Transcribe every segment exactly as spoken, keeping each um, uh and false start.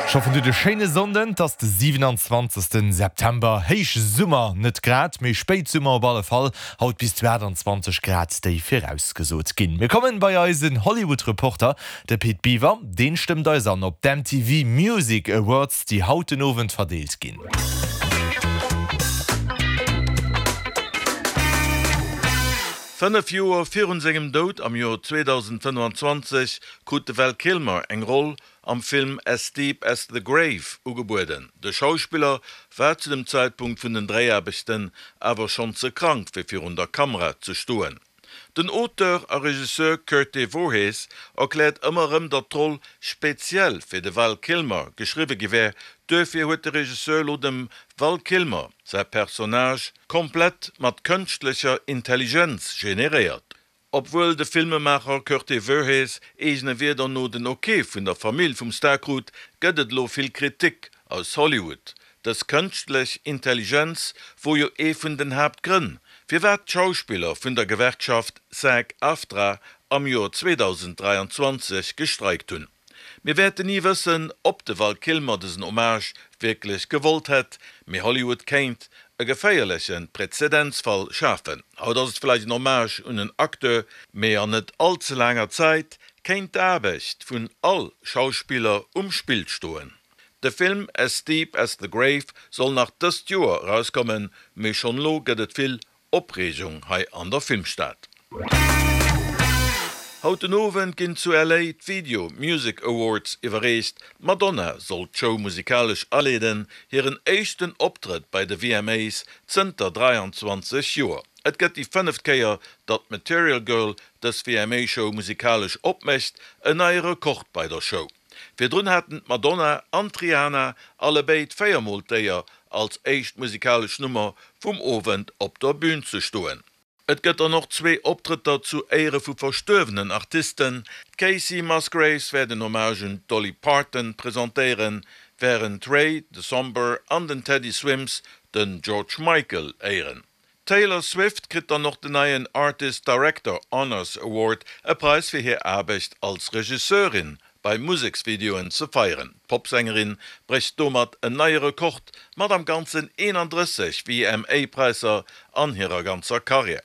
Ech hoffen dir hutt e schéine Sonnden, 't ass de siwenanzwanzegsten September, Héichsummer, net grad, mee Spéitsummer op alle Fall, haut bis zu aachtanzwanzeg Grad déi virausgesot ginn. Mir kommen bei eisen Hollywood Reporter, de Pit Biwer, deen stëmmt eis an op d'M T V Music Awards, déi haut den Owend verdeelt ginn. Fënnef Joer virun sengem Doud am Joer zweedausendfënnefanzwanzeg krut de Val Kilmer eng Roll am Film As Deep as the Grave ugebueden. De Schauspiller war zu dem Zäitpunkt vun den Dréiaarbechten awer schonn ze krank fir virun der Kamera ze stoen. Den Auteur a Regisseur Coerte Voorhees erkläert ëmmer erëm, datt d'Roll speziell fir de Val Kilmer geschriwwe gi wär. Duerfir huet de Regisseur lo dem Val Kilmer säi Personnage komplett mat kënschtlecher Intelligenz generéiert. Obwuel de Filmemaacher Coerte Voorhees eegene Wierder no den Ok vun der Famill vum Star krut, gëtt et lo vill Kritik aus Hollywood. Dës kënschtlech Intelligenz wor jo ee vun den Haaptgrënn, firwat d'Schauspiller vun der Gewerkschaft SAG-AFTRA am Joer zweedausend dräianzwanzeg gestreikt hunn. Mir wäerten ni wëssen, ob de Val Kilmer dësen Hommage wierklech gewollt hätt, mee Hollywood kéint e geféierleche Präzedenzfall schafen. Haut ass et vläicht en Hommage un en Acteur, mee an net all ze laanger Zäit kéint d'Aarbecht vun all Schauspiller um Spill stoen. De Film As Deep as the Grave soll nach dëst Joer erauskommen, mee schonn elo gëtt et vill Opreegung hei an der Filmstad. Haut den Owend ginn zu L A d'Video Music Awards iwwerreecht. D'Madonna soll d'Show musikalesch aleeden, hiren éischten Optrëtt bei de V M As zënter dräianzwanzeg Joer. Et gëtt déi fënneft Kéier, datt d'Material Girl dës V M A-Show musikalesch opmécht, en neie Rekord bei der Show. Virdrun haten d'Madonna an d'Rihanna allebéid véiermol d'Éier, als éischt musikalesch Nummer vum Owend op der Bün ze stoen. Et gëtt dann och zwee Optrëtter zu Éiere vu verstuerwenen Artisten. D'Kacey Musgraves wäert en Hommage un d'Dolly Parton presentéieren, wärend Ray DeSomber an den Teddy Swims den George Michael éieren. D'Taylor Swift kritt dann och den neien Artist Director Honors Award, e Präis fir hir Aarbecht als Regisseurin bei Museksvideoen ze feieren. D'Popsängerin brécht domat en neie Rekord mat am Ganzen eenandrësseg V M A-Präisser an hirer ganzer Karriär.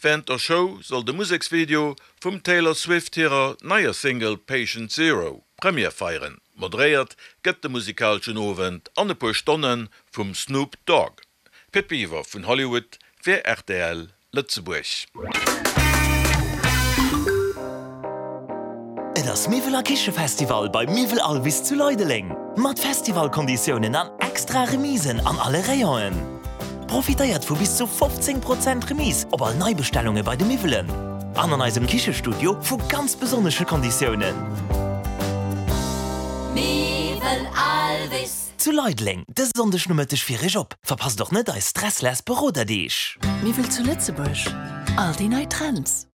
Wärend der Show soll de Museksvideo vum Taylor Swift hirer neier Single Patient Zero Première feieren. Moderéiert gëtt de musikaleschen Owend an e puer Stonne vum Snoop Dogg. Pit Biwer vun Hollywood fir R T L Lëtzebuerg. Et ass Miwwel a Kichefestival bei Miwwel Alvis zu Leideleng. Mat Festivalkonditiounen an extra Remisen an alle Rayonen. Profitéiert vu bis zu fofzéng Prozent Remise op all Neibestellunge bei de Miwwelen. An an eisem Kichestudio vu ganz besonnesche Konditiounen. Miwwel Alvis. Zu Leideleng, dëse Sonndeg Nomëtteg fir iech op. Verpasst och net eis stressless Beroderdeeg. Miwwel zu Lëtzebuerg. All déi nei Trends.